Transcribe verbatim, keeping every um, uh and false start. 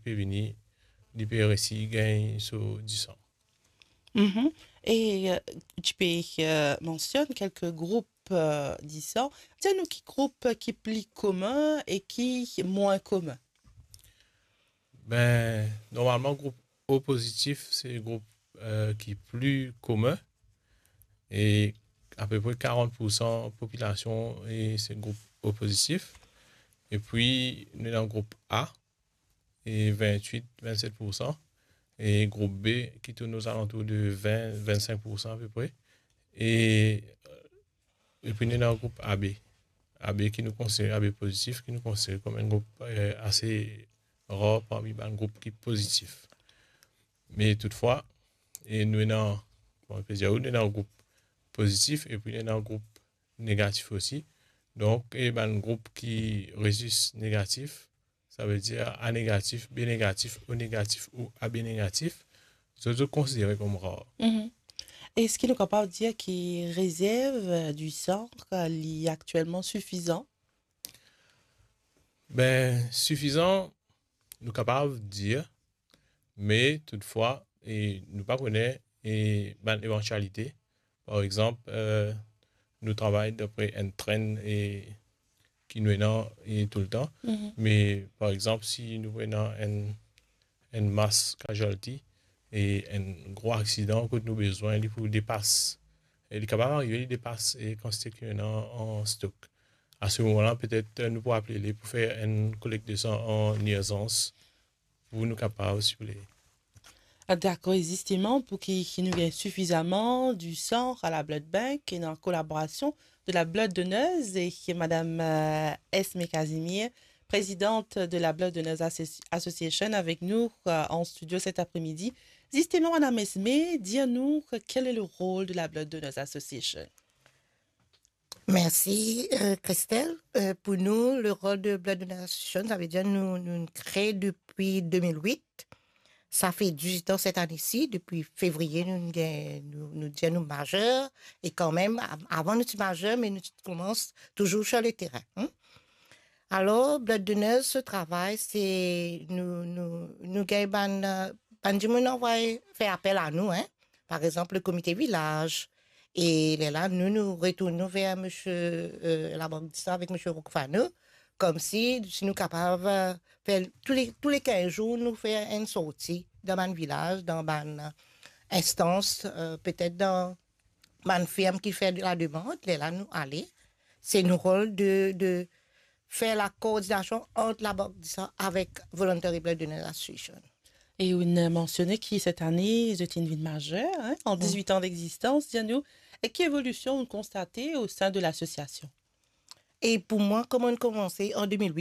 pe vini, li pe resi gagn so disan. Mhm. E, euh, ti pe, euh, mansionn kelke group, euh, disan. Dir nou ki group ki pli komin e ki mwin komin? Ben, normalman, group O pozitif, se group, euh, ki pli komin. E apepre karant pou san popilasion, e se group O pozitif. Epi, nou ena group A, e vintwit, vintset pou san. E group B, ki tourn ozalantour de vin, vintsink pou san apepre. E, epi, nou ena group A B. A B ki nou konsidere, A B pozitif, ki nou konsidere kom enn group, euh, ase rar parmi bann group ki pozitif. Me toutfwa, e nou ena, kouma nou pe dir, nou ena group pozitif epi nou ena group negatif osi. Donk, e bann group ki rezis negatif, savedir A negatif, B negatif, O negatif ou A B negatif, zot, zot konsidere kom rar. Mhm. Eski nou kapav dir ki rezerv, euh, di san, euh, li aktielman sifizan? Ben, sifizan, nou kapav dir, me toutfwa, e nou pa kone, e bann evantialite. Par exanp, euh, nou travay dapre enn trenn e ki nou ena, e toultan. Mhm. Me, par exanp, si nou ena enn, enn mass casualty e enn gro aksidan kot nou bezwin li pou depas, e li kapav arive, li depas, e kantite ki nou ena an stok. A se moman la, petet, euh, nou pou apel li pou fer enn kolekt de san an irzans, pou nou kapav, siouple. Ah, dakor, e zisteman, pou ki, ki nou gagn sifizaman di san a la Blood Bank, e dan kolaborasion de la Blood Donors e madam, euh, Esme Casimir, présidente de la Blood Donors Associ-, Association, avek nou, euh, an studio set apremidi. Zisteman, madam Esme, dir nou, quel est le rôle de la Blood Donors Association? Mersi, euh, Christelle. Euh, pou nou, le rôle de Blood Donation, savedir nou, nou kre depi de mil wit. Sa fer dizuit an set ane si, depi fevriye nou gagn, nou, nou dir nou mazer, e kanmem, av-, avan nou ti mazer, me nou ti koumans touzour sir le terin, hmm. Alor, Blood Donors, so travay, se nou, nou, nou gagn bann, euh, bann dimoun anvoy fer apel a nou, hein. Par exanp, le komite vilaz. E lerla, nou, nou retourn nou ver misie, euh, Labank Disan avek misie Roukfano, koumsi, si nou kapav, euh, fer tou le, tou le kinz zour, nou fer enn sorti dan bann vilaz, dan bann, euh, instans, euh, petet dan bann firm ki fer de la demande, lerla nou ale. Se nou rol de, de fer la koordinasion ant Labank Disan avek Voluntary Blood Donors Association. E ou inn mansione ki set ane, zot inn vinn mazer, hein, an, mm, dizuit an degzistans, dir nou, e ki evolision ou konstate o sin de lasosiasion? E pou mwa, kouma nou koumanse an de mil wit,